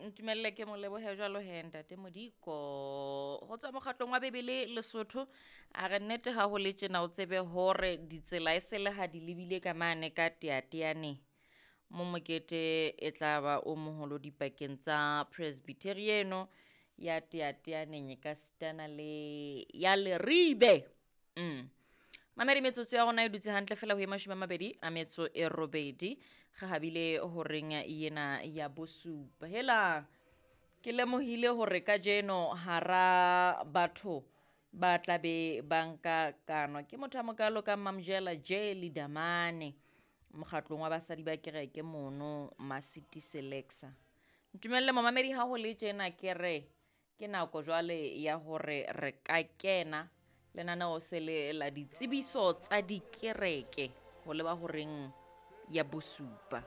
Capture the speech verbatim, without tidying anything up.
Ntumelle ke mo lebohe jwalo he ntate Modiko. Ho tswa mokgatlong wa Bebele Lesotho a re nnete ha ho le tjena o tsebe hore ditsela e se le ha di lebile ka mane ka teateaneng. Mo mokete e tla ba o moholo dipakeng tsa Presbyterian ya teateaneng e ka sitana le ya Leribe. Mm. Mamedi metsotso ya rona e dutse hantle fela ho e mashome a mabedi a metso e robedi. Re habile horeng ena ya bosupa. Hela ke lemohile hore kajeno hara batho ba tla be ba nka kano ke motho a mokalo ka Mamjela J Lidamane mokgatlong wa basadi ba kereke mono Masiti Selexa. Ntumelle momamedi ha ho le tjena ke re ke nako jwale ya hore re ka kena lenaneo se le la ditsebiso tsa dikereke ho leba horeng ya bosupa.